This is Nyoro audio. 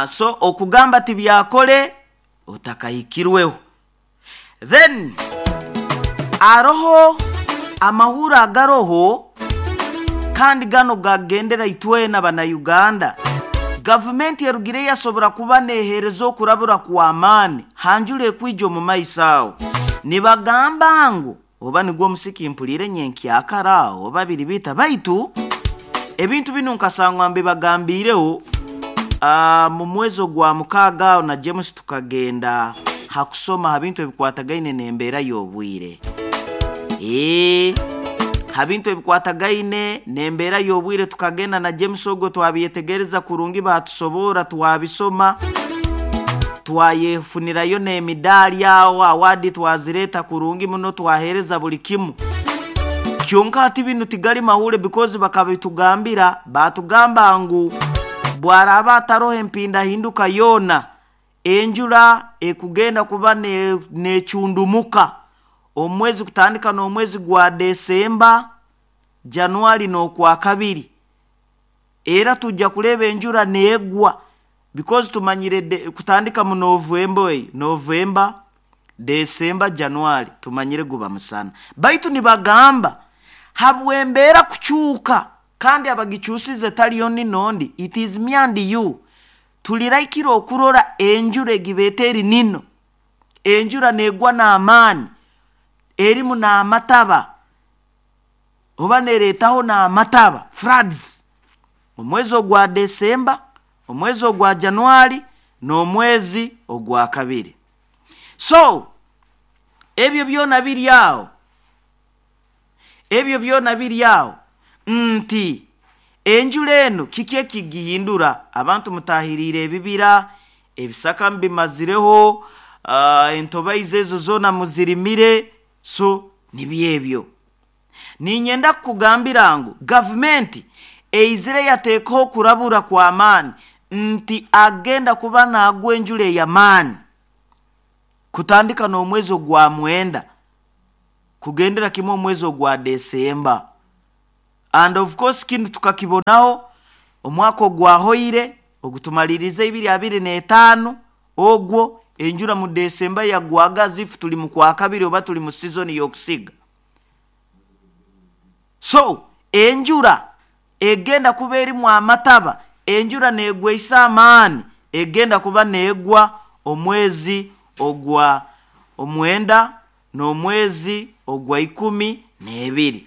So okugamba tibyakole otakahikirweho. Then aroho amahuro agaroho kandi gano gagendera itwena Bannayuganda. Gavumenti erugire yasobora kuba neehereza okurabura kw'amaani hanjura ekwija omu maiso aho. Nibagamba ngu oba nigwo omusiki mpuliire nyenkyakara aho oba biri bita, baitu ebintu binu nkasangwa mbibagambiireho mu mwezi ogwa 6 aho na James tukagenda ha kusoma ha bintu ebikwatagaine n'embeera y'obwire. Ha bintu ebikwatagaine n'embeera y'obwire tukagenda na James ogwo twabyetegereza kurungi, baatusoborra twabisoma, twayefunirayo n'emidaali aho, awaadi twazireeta kurungi muno, twaheereza buli kimu. Kyonka hati binu tigali mahule because bakabitugambira, baatugamba ngu bwaraaba ataroho empindahinduka yoona, enjura ekugenda kuba neecundumuka omu mwezi kutandika n'omwezi gwa Desemba, Januari n'Okwakabiri. Era tujja kureeba enjura neegwa because tumanyire kutandika mu Novemba eyo, Novemba, Desemba, Januari tumanyire guba musana. Baitu nibagamba habw'embeera kucuuka kandi abagicuusize tali ondi n'ondi, it is me and you. Tuliraikire okurora enjura egibeeta eri nino, enjura neegwa n'amaani, erimu n'amataba oba neereetaho n'amataba, floods, omwezi ogwa Desemba, omwezi ogwa Januari n'omwezi ogwakabiri. So ebyo byona biri aho, ebyo byona biri aho nti enjura enu kiki ekigihindura? Abantu mutahiriire ebibira, ebisaka mubimazireho, entobaizi ezo zoona muzirimire, so nibyo ebyo. Niinyenda kukugambira ngu gavumenti eizire yateekaho okurabura kw'amaani nti agenda kuba naagwa enjura ey'amaani kutandika n'omwezi ogwa 9 kugendera kimu omwezi ogwa Desemba. And of course kinu tukakibonaho omwaka ogwahoire ogutumaliriize 2025, ogwo enjura mu Desemba yagwaga as if tuli mu Kwakabiri oba tuli mu season y'okusiga. So enjura egenda kuba erimu amataba, enjura neegweisa amaani, egenda kuba neegwa omwezi ogwa 9 n'omwezi ogwa 12.